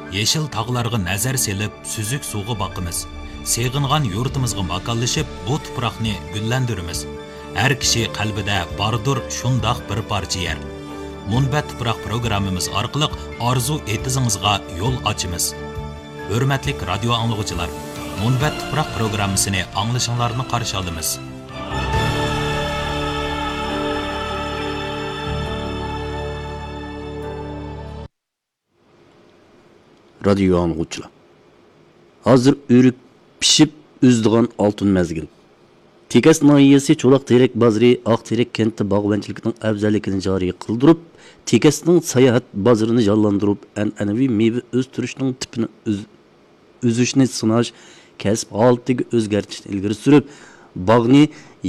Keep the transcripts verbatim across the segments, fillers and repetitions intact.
يېشىل تاغلارغا نەزەر سېلىپ، سۈزۈك سۇغا باقىمىز. سېغىنغان يۇرتىمىزغا ماكانلىشىپ، بۇ تۇپراقنى گۈللەندۈرىمىز. ھەر كىشى قەلبىدە باردۇر شۇنداق بىر پارچە يەر. مۇنبەت تۇپراق پروگراممىمىز ئارقىلىق ئارزۇ ئېتىزىڭىزغا يول ئاچىمىز. ھۆرمەتلىك رادىيو ئاڭلىغۇچىلار، مۇنبەت تۇپراق پروگراممىسىنى ئاڭلىشىڭلارنى قارشى ئالىمىز. رادىيو ئاڭلىغۇچىلار، ھازىر ئۆرۈك پىشىپ ئۈزىدىغان ئالتۇن مەزگىل. تېكەس ناھىيەسى چولاق تېرەك بازىرى ئاق تېرەك كەنتى باغۋەنچىلىكىنىڭ ئەۋزەللىكىنى جارى قىلدۇرۇپ، تېكەسنىڭ ساياھەت بازىرىنى جانلاندۇرۇپ، ئەنئەنىۋى مېۋە ئۆستۈرۈشنىڭ تىپىنى ئۈز-، ئۈزۈشنى سىناش، كەسىپ ھالىتىگە ئۆزگەرتىشنى ئىلگىرى سۈرۈپ، باغنى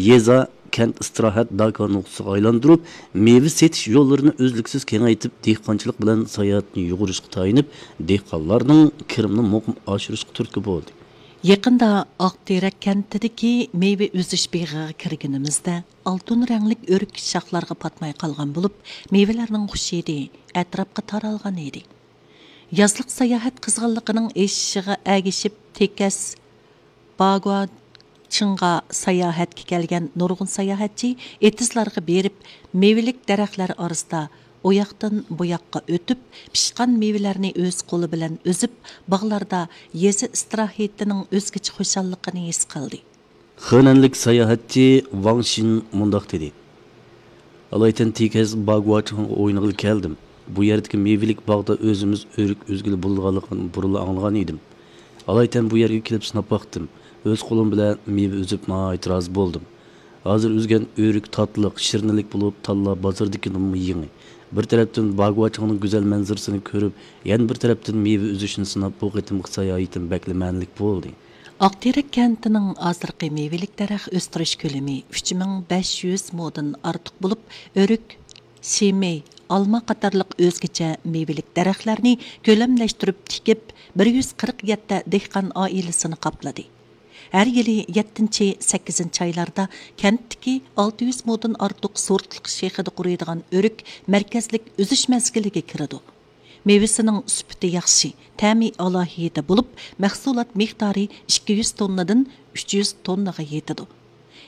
يېزا، كەنت ئىستىراھەت داكا نۇقتىسىغا ئايلاندۇرۇپ، مېۋە سېتىش يوللىرىنى ئۈزلۈكسىز كېڭەيتىپ، دېھقانچىلىق بىلەن ساياھەتنى يۇغۇرۇشقا تايىنىپ، دېھقانلارنىڭ كىرىمىنى مۇقىم ئاشۇرۇشقا تۈرتكە بولدى. يېقىندا ئاقتېرەك كەنتىدىكى مېۋە ئۈزۈش بېغىغا كىرگىنىمىزدە، ئالتۇن رەڭلىك ئۆرۈك شاخلارغا پاتماي قالغان بولۇپ، مېۋىلەرنىڭ خۇش ھىدى ئەتراپقا تارالغان ئىدى. يازلىق ساياھەت قىزغىنلىقىنىڭ ئېشىشىغا ئەگىشىپ، تېكەس باگۇاچىڭغا ساياھەتكە كەلگەن نۇرغۇن ساياھەتچى ئېتىزلارغا بېرىپ، مېۋىلىك دەرەخلەر ئارىسىدا ئۇياقتىن بۇياققا ئۆتۈپ، پىشقان مېۋىلەرنى ئۆز قولى بىلەن ئۈزۈپ، باغلاردا يېزا ئىستىراھىتىنىڭ ئۆزگىچە خۇشاللىقىنى ھېس قىلدى. خېنەنلىك ساياھەتچى ۋاڭ شىن مۇنداق دېدى: ئالايتەن تېكەس باگۇاچىڭغا ئوينىغىلى كەلدىم. بۇ يەردىكى مېۋىلىك باغدا ئۆزىمىز ئۆرۈك ئۈزگىلى بولىدىغانلىقىنى بۇرۇنلا ئاڭلىغان ئىدىم. ئالايتەن بۇ يەرگە كېلىپ سىناپ باقتىم. ئۆز قولۇم بىلەن مېۋە ئۈزۈپ ناھايىتى رازى بولدۇم. ھازىر ئۈزگەن ئۆرۈك تاتلىق، شىرنىلىك بولۇپ، تاللا بازىرىدىكىدىنمۇ يېڭى. بىر تەرەپتىن باگۇاچىڭنىڭ گۈزەل مەنزىرىسىنى كۆرۈپ، يەنە بىر تەرەپتىن مېۋە ئۈزۈشنى سىناپ، بۇ قېتىمقى ساياھىتىم بەكلا مەنىلىك بولدى. ئاقتېرەك كەنتىنىڭ ھازىرقى مېۋىلىك دەرەخ ئۆستۈرۈش كۆلىمى ئۈچ مىڭ بەش يۈز مودىن ئارتۇق بولۇپ، ئۆرۈك، شىمەي، ئالما قاتارلىق ئۆزگىچە مېۋىلىك دەرەخلەرنى كۆلەملەشتۈرۈپ تىكىپ، بىر يۈز قىرىق يەتتە دېھقان ئائىلىسىنى قاپلىدى. ھەر يىلى يەتتىنچى، سەككىزىنچى ئايلاردا كەنتتىكى ئالتە يۈز مودىن ئارتۇق سورتلۇق شېخىدا قۇرۇيدىغان ئۆرۈك مەركەزلىك ئۈزۈش مەزگىلىگە كىرىدۇ. مېۋىسىنىڭ سۈپىتى ياخشى، تەمى ئالاھىدە بولۇپ، مەھسۇلات مىقدارى ئىككى يۈز توننىدىن ئۈچ يۈز توننىغا يېتىدۇ.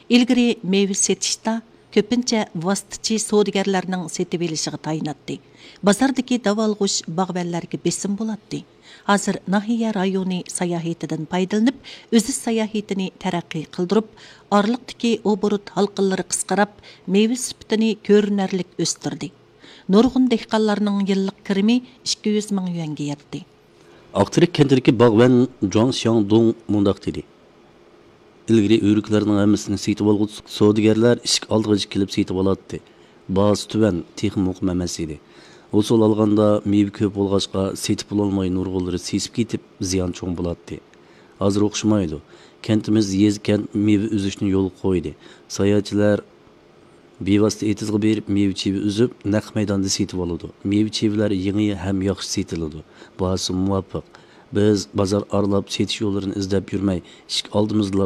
ئىلگىرى مېۋە سېتىشتا كۆپىنچە ۋاسىتىچى سودىگەرلەرنىڭ سېتىۋېلىشىغا تايىناتتى. بازاردىكى داۋالغۇش باغۋەنلەرگە بېسىم بولاتتى. ھازىر ناھىيە رايونى ساياھىتىدىن پايدىلىنىپ، ئۈزۈش ساياھىتىنى تەرەققىي قىلدۇرۇپ، ئارىلىقتىكى ئوبوروت ھالقىلىرى قىسقىراپ، مېۋە سۈپىتىنى كۆرۈنەرلىك ئۆستۈردى. نۇرغۇن دېھقانلارنىڭ يىللىق كىرىمى ئىككى يۈز مىڭ يۈەنگە يەتتى. ئاقتېرەك كەنتىدىكى باغۋەن جۇاڭ شياڭدۇڭ مۇنداق دېدى: ئىلگىرى ئۆرۈكلەرنىڭ ھەممىسىنى سېتىۋالغۇچى سودىگەرلەر ئىشىك ئالدىغىچە كېلىپ سېتىۋالاتتى. باھاسى تۆۋەن، تېخىمۇ مۇقىم ئەمەس ئىدى. ھوسۇل ئالغاندا مېۋە كۆپ بولغاچقا، سېتىپ بولالماي نۇرغۇنلىرى سېسىپ كېتىپ، زىيان چوڭ بولاتتى. ھازىر ئوخشىمايدۇ. كەنتىمىز يېزا-كەنت مېۋە ئۈزۈشنى يولغا قويدى. ساياھەتچىلەر بىۋاسىتە ئېتىزغا بېرىپ، مېۋە-چېۋە ئۈزۈپ، نەق مەيداندا سېتىۋالىدۇ. مېۋە-چېۋىلەر يېڭى ھەم ياخشى سېتىلىدۇ، باھاسى مۇۋاپىق. بىز بازار ئارىلاپ سېتىش يوللىرىنى ئىزدەپ يۈرمەي، ئىشىك ئالدىمىزدىلا